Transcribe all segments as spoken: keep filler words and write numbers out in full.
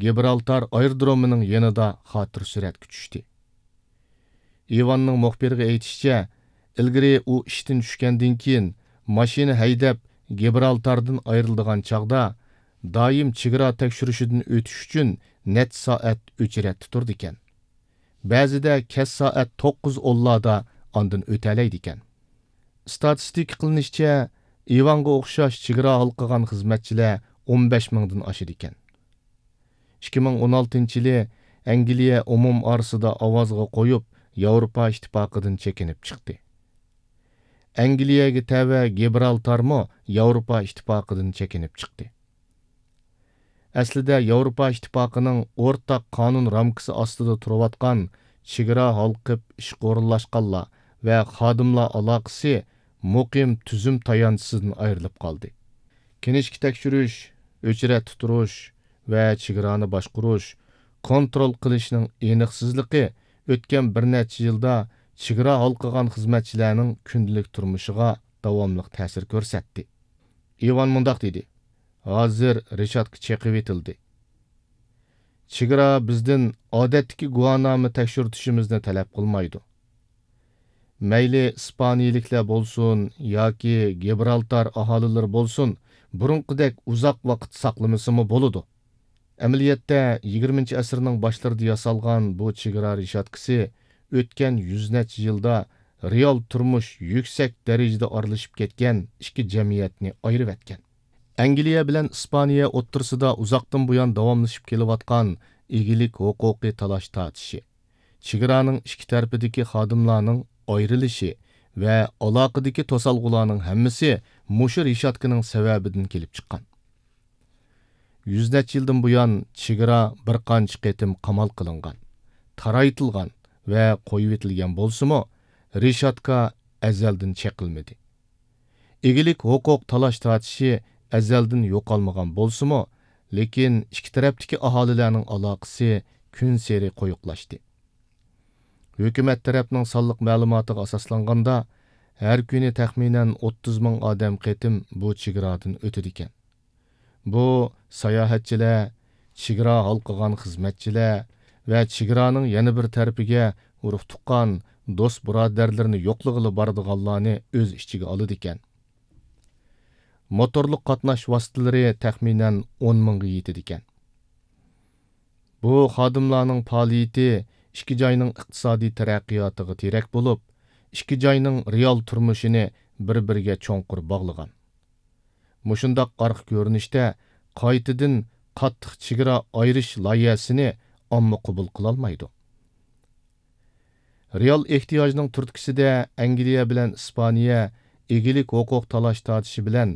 گىبرالتار ئايرودرومىنىڭ يېنىدا خاتىرە سۈرەتكە چۈشتى. ئىۋاننىڭ مۇخبىرغا ئېيتىشىچە، ئىلگىرى ئۇ ئىشتىن چۈشكەندىن كېيىن، ماشىنا ھەيدەپ، گىبرالتاردىن ئايرىلىدىغان چاغدا، دائىم چېگرا تەكشۈرۈشىدىن ئۆتۈش ئۈچۈن نەچچە سائەت ئۆچرەتتە تۇرىدىكەن. بەزىدە كەچ سائەت توققۇز ئونلاردا ئاندىن ئۆتەلەيدىكەن. ئىستاتىستىكا قىلىنىشىچە، ئىۋانغا ئوخشاش چېگرا ھالقىغان خىزمەتچىلەر ئون بەش مىڭدىن ئاشىدىكەن. ئىككى مىڭ ئون ئالتىنچى يىلى ئەنگلىيە ئومۇم ئارىسىدا ئاۋازغا قويۇپ، ياۋروپا ئىتتىپاقىدىن چېكىنىپ چىقتى. ئەنگلىيەگە تەۋە گىبرالتارمۇ ياۋروپا ئىتتىپاقىدىن چېكىنىپ چىقتى. ئەسلىدە ياۋروپا ئىتتىپاقىنىڭ ئورتاق قانۇن رامكىسى ئاستىدا تۇرۇۋاتقان چېگرا ھالقىپ ئىشقا ئورۇنلاشقانلار ۋە خادىملار ئالاقىسى مۇقىم تۈزۈم تايانچىسىدىن ئايرىلىپ قالدى. كىنىشكا تەكشۈرۈش، ئۆچرەتتە تۇرۇش ۋە چېگرانى باشقۇرۇش، كونترول قىلىشنىڭ ئېنىقسىزلىقى ئۆتكەن بىر نەچچە يىلدا چېگرا ھالقىغان خىزمەتچىلەرنىڭ كۈندىلىك تۇرمۇشىغا داۋاملىق تەسىر كۆرسەتتى. ئىۋان مۇنداق دېدى: «ھازىر رېشاتكا چېقىۋېتىلدى. چېگرا بىزدىن ئادەتتىكى گۇۋاھنامە تەكشۈرتۈشىمىزنى تەلەپ قىلمايدۇ. مەيلى ئىسپانىيىلىكلەر بولسۇن ياكى گىبرالتار ئاھالىلىرى بولسۇن، بۇرۇنقىدەك ئۇزاق ۋاقىت ساقلىمىسىمۇ بولىدۇ.» ئەمەلىيەتتە، يىگىرمىنچى ئەسىرنىڭ باشلىرىدا ياسالغان بۇ چېگرا رېشاتكىسى ئۆتكەن يۈز نەچچە يىلدا رېئال تۇرمۇش يۈكسەك دەرىجىدە ئارىلىشىپ كەتكەن ئىككى جەمئىيەتنى ئايرىۋەتكەن. ئەنگلىيە بىلەن ئىسپانىيە ئوتتۇرىسىدا ئۇزاقتىن بۇيان داۋاملىشىپ كېلىۋاتقان ئىگىلىك ھوقۇقى تالاش-تارتىشى، چېگرانىڭ ئىككى تەرىپىدىكى خادىملارنىڭ ئايرىلىشى ۋە ئالاقىدىكى توسالغۇلارنىڭ ھەممىسى مۇشۇ رېشاتكىنىڭ سەۋەبىدىن كېلىپ چىققان. يۈز نەچچە يىلدىن بۇيان چېگرا بىر قانچە قېتىم قامال قىلىنغان، تارايتىلغان ۋە قويۇۋېتىلگەن بولسىمۇ، رېشاتكا ئەزەلدىن چېقىلمىدى. ئىگىلىك ھوقۇق تالاش-تارتىشى ئەزەلدىن يوقالمىغان بولسىمۇ، لېكىن ئىككى تەرەپتىكى ئاھالىلەرنىڭ ئالاقىسى كۈنسېرى قويۇقلاشتى. ھۆكۈمەت تەرەپنىڭ سانلىق مەلۇماتىغا ئاساسلانغاندا، ھەر كۈنى تەخمىنەن ئوتتۇز مىڭ ئادەم قېتىم بۇ چېگرادىن ئۆتىدىكەن. بۇ ساياھەتچىلەر، چېگرا ھالقىغان خىزمەتچىلەر ۋە چېگرانىڭ يەنە بىر تەرىپىگە ئۇرۇق-تۇغقان، دوست-بۇرادەرلىرىنى يوقلىغىلى بارىدىغانلارنى ئۆز ئىچىگە ئالىدىكەن. موتورلۇق قاتناش ۋاسىتىلىرى تەخمىنەن ئون مىڭغا يېتىدىكەن. بۇ خادىملارنىڭ پائالىيىتى ئىككى جاينىڭ ئىقتىسادىي تەرەققىياتىغا تىرەك بولۇپ، ئىككى جاينىڭ رېئال تۇرمۇشىنى بىر-بىرىگە چوڭقۇر باغلىغان. مۇشۇنداق ئارقا كۆرۈنۈشتە قايتىدىن قاتتىق چېگرا ئايرىش لايىھەسىنى ئامما قوبۇل قىلالمايدۇ. رېئال ئېھتىياجنىڭ تۈرتكىسىدە ئەنگلىيە بىلەن ئىسپانىيە ئىگىلىك ھوقۇق تالاش-تارتىشى بىلەن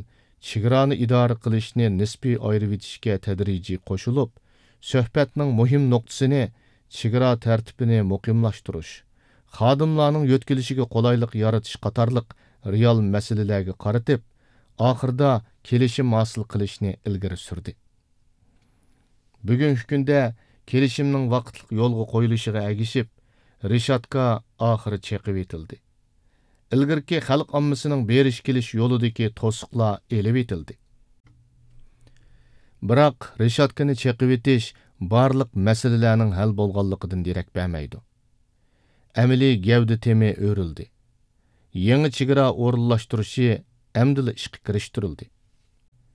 چېگرانى ئىدارە قىلىشنى نىسپىي ئايرىۋېتىشكە تەدرىجىي قوشۇلۇپ، سۆھبەتنىڭ مۇھىم نۇقتىسىنى چېگرا تەرتىپىنى مۇقىملاشتۇرۇش، خادىملارنىڭ يۆتكىلىشىگە قولايلىق يارىتىش قاتارلىق رېئال مەسىلىلەرگە قارىتىپ، ئاخىرىدا كېلىشىم ھاسىل قىلىشنى ئىلگىرى سۈردى. بۈگۈنكى كۈندە كېلىشىمنىڭ ۋاقىتلىق يولغا قويۇلۇشىغا ئەگىشىپ، رېشاتكا ئاخىرى چېقىۋېتىلدى. ئىلگىرىكى خەلق ئاممىسىنىڭ بېرىش-كېلىش يولىدىكى توسۇقلار ئېلىۋېتىلدى. بىراق، رېشاتكىنى چېقىۋېتىش بارلىق مەسىلىلەرنىڭ ھەل بولغانلىقىدىن دېرەك بەرمەيدۇ. ئەمەلىي گەۋدە تېمى ئۆرۈلدى. يېڭى چېگرا ئورۇنلاشتۇرۇشى ئەمدىلا ئىشقا كىرىشتۈرۈلدى.